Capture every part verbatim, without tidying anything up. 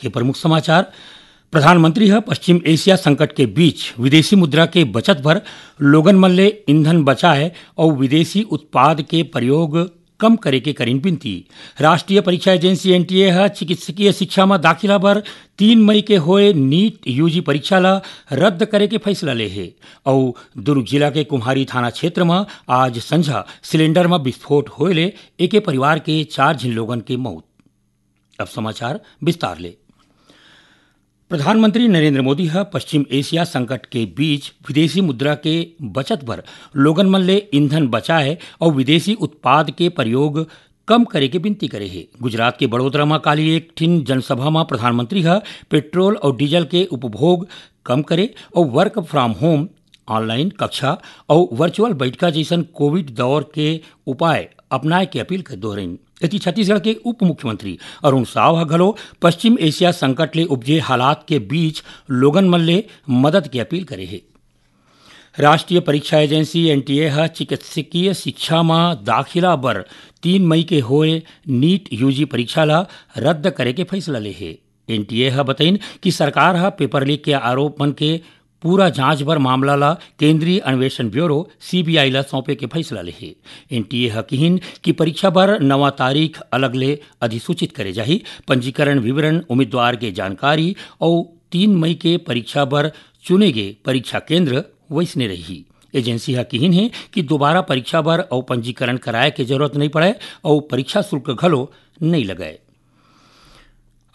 के प्रमुख समाचार। प्रधानमंत्री ह पश्चिम एशिया संकट के बीच विदेशी मुद्रा के बचत बर लोगन मन ले ईंधन बचाए अउ विदेशी उत्पाद के प्रयोग कम करे के करिन विनती। राष्ट्रीय परीक्षा एजेंसी, एनटीए, ह चिकित्सकीय शिक्षा म दाखिला बर तीन मई के होए नीट यूजी परीक्षा ल रद्द करे के फैसला ले हे। अउ दुर्ग जिला के कुम्हारी थाना क्षेत्र म आज संझा सिलेंडर म विस्फोट होए ले एके परिवार के चार झिन लोगन के मौत। अब समाचार विस्तार ले। प्रधानमंत्री नरेंद्र मोदी ह पश्चिम एशिया संकट के बीच विदेशी मुद्रा के बचत बर लोगन मन ले ईंधन बचाए अउ विदेशी उत्पाद के प्रयोग कम करे के विनती करे हे। गुजरात के बड़ोदरा म काली एक ठिन जनसभा म प्रधानमंत्री ह पेट्रोल अउ डीजल के उपभोग कम करे अउ work from home, ऑनलाइन कक्षा अउ वर्चुअल बैठका जइसन कोविड दौर के उपाय अपनाए के अपील कर दोहरइन। एती छत्तीसगढ़ के उप मुख्यमंत्री अरुण साव ह घलो पश्चिम एशिया संकट ले उपजे हालात के बीच लोगन मन ले मदद के अपील करे हे। राष्ट्रीय परीक्षा एजेंसी, एनटीए, ह चिकित्सकीय शिक्षा म दाखिला बर तीन मई के होए नीट यूजी परीक्षा ल रद्द करे के फैसला ले हे। एनटीए ह बतइन कि सरकार ह पेपर लीक के आरोप मन के पूरा जांच बर मामला ल केंद्रीय अन्वेषण ब्यूरो, सीबीआई, ल सौंपे के फैसला ले हे। एनटीए ह किहिन कि परीक्षा बर नवा तारीख अलग ले अधिसूचित करे जाही। पंजीकरण विवरण, उम्मीदवार के जानकारी अउ तीन मई के परीक्षा बर चुने गे परीक्षा केंद्र वइसने रही। एजेंसी ह किहिन हे कि दोबारा परीक्षा बर अउ पंजीकरण कराए के जरूरत नइ पड़े अउ परीक्षा शुल्क घलो नइ लगय।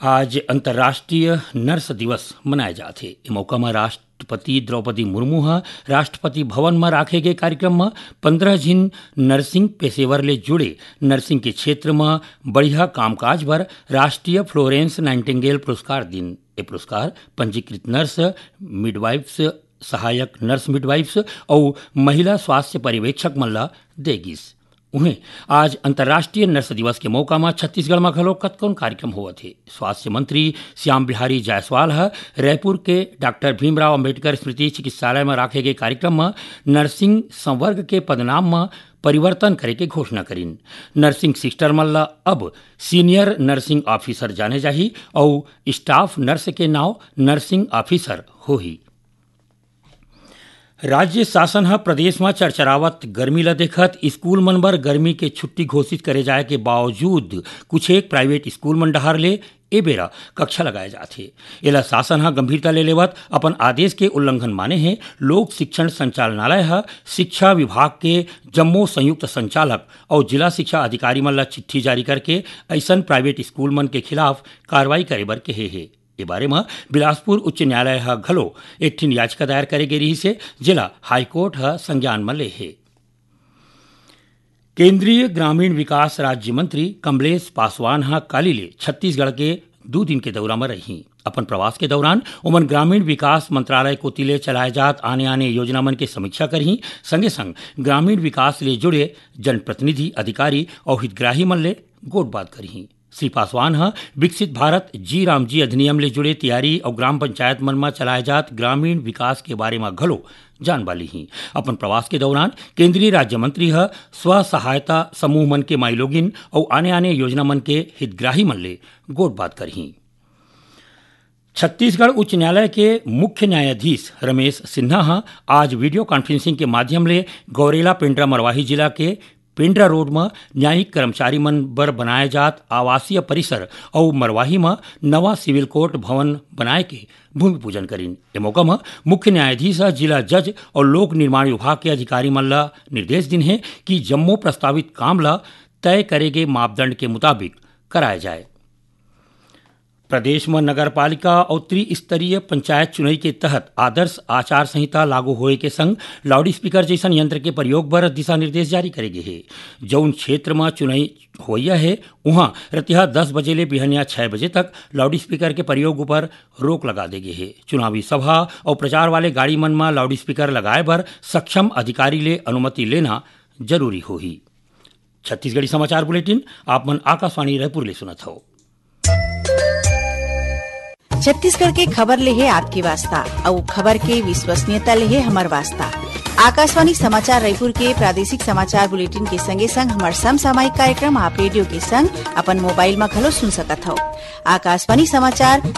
आज अंतर्राष्ट्रीय नर्स दिवस मनाए जात हे। ए मौका म राष्ट्रपति द्रौपदी मुर्मू ह राष्ट्रपति भवन म राखे गे कार्यक्रम म पंद्रह झिन नर्सिंग पेशेवर ले जुड़े नर्सिंग के क्षेत्र म बढ़िया कामकाज बर राष्ट्रीय फ्लोरेंस नाइटिंगेल पुरस्कार दिन। ए पुरस्कार पंजीकृत नर्स, मिडवाइफ्स, सहायक नर्स मिडवाइफ्स अउ महिला स्वास्थ्य पर्यवेक्षक मन ल दे गिस। उहें, आज अंतर्राष्ट्रीय नर्स दिवस के मौका म छत्तीसगढ़ म घलो कतकोन कार्यक्रम होवत हे। स्वास्थ्य मंत्री श्याम बिहारी जायसवाल ह रायपुर के डॉक्टर भीमराव अंबेडकर स्मृति चिकित्सालय म राखे गे कार्यक्रम म नर्सिंग संवर्ग के पदनाम म परिवर्तन करे के घोषणा करिन। नर्सिंग सिस्टर मन ल अब सीनियर नर्सिंग ऑफिसर जाने जाही अउ स्टाफ नर्स के नाव नर्सिंग ऑफिसर होही। राज्य शासन ह प्रदेश म चरचरावत गर्मी ल देखत स्कूल मन बर गर्मी के छुट्टी घोषित करे जाय के बावजूद कुछेक प्राइवेट स्कूल मन डहार ले ए बेरा कक्षा लगाए जात हे। एला शासन ह गंभीरता ले लेवत अपन आदेश के उल्लंघन माने हे। लोक शिक्षण संचालनालय ह शिक्षा विभाग के जम्मो संयुक्त संचालक अउ जिला शिक्षा अधिकारी मन ल चिट्ठी जारी करके अइसन प्राइवेट स्कूल मन के खिलाफ कार्रवाई करे बर कहे हे। ए बारे म बिलासपुर उच्च न्यायालय ह घलो एक ठिन याचिका दायर करे गे रिहिस हे, जेला हाईकोर्ट ह संज्ञान म ले हे। केंद्रीय ग्रामीण विकास राज्य मंत्री कमलेश पासवान ह काली ले छत्तीसगढ़ के दू दिन के दौरा म रही। अपन प्रवास के दौरान ओमन ग्रामीण विकास मंत्रालय कोति ले चलाए जात आने-आने योजना मन के समीक्षा करही, संगे-संग ग्रामीण विकास ले जुड़े जनप्रतिनिधि, अधिकारी अउ हितग्राही मन ले गोठबात करही। श्री पासवान ह विकसित भारत जी राम जी अधिनियम ले जुड़े तैयारी अउ ग्राम पंचायत मन म चलाए जात ग्रामीण विकास के बारे म घलो जानबा लीही। अपन प्रवास के दौरान केंद्रीय राज्य मंत्री ह स्व सहायता समूह मन के माईलोगिन अउ आने-आने योजना मन के हितग्राही मन ले गोठबात करही। छत्तीसगढ़ उच्च न्यायालय के मुख्य न्यायाधीश रमेश सिन्हा ह आज वीडियो कॉन्फ्रेंसिंग के माध्यम ले गौरेला पेंड्रा मरवाही जिला के पेंड्रा रोड म न्यायिक कर्मचारी मन बर बनाए जात आवासीय परिसर अउ मरवाही म नवा सिविल कोर्ट भवन बनाए के भूमि पूजन करिन। ए मौका म मुख्य न्यायाधीश ह जिला जज अउ लोक निर्माण विभाग के अधिकारी मन ल निर्देश दिन हे कि जम्मो प्रस्तावित काम ल तय करे गे मापदंड के मुताबिक कराए जाए। प्रदेश म नगर पालिका अउ त्रिस्तरीय पंचायत चुनई के तहत आदर्श आचार संहिता लागू होए के संग लाउडस्पीकर जइसन यंत्र के प्रयोग बर दिशा निर्देश जारी करे गे हे। जउन क्षेत्र म चुनई होवइया हे, उहां रतिहा दस बजे ले बिहनिया छह बजे तक लाउडस्पीकर के प्रयोग उपर रोक लगा दे गे हे। चुनावी सभा अउ प्रचार वाले गाड़ी मन म लाउडस्पीकर लगाए बर सक्षम अधिकारी ले अनुमति लेना जरूरी होही। छत्तीसगढ़ी समाचार बुलेटिन आप मन आकाशवाणी रायपुर ले सुनत हव। छत्तीसगढ़ के खबर ले हे आपके वास्ता, अउ खबर के विश्वसनीयता ले हे हमर वास्ता। आकाशवाणी समाचार रायपुर के प्रादेशिक समाचार बुलेटिन के संगे संग हमर समसामयिक कार्यक्रम आप रेडियो के संग अपन मोबाइल म घलो सुन सकत हव। आकाशवाणी समाचार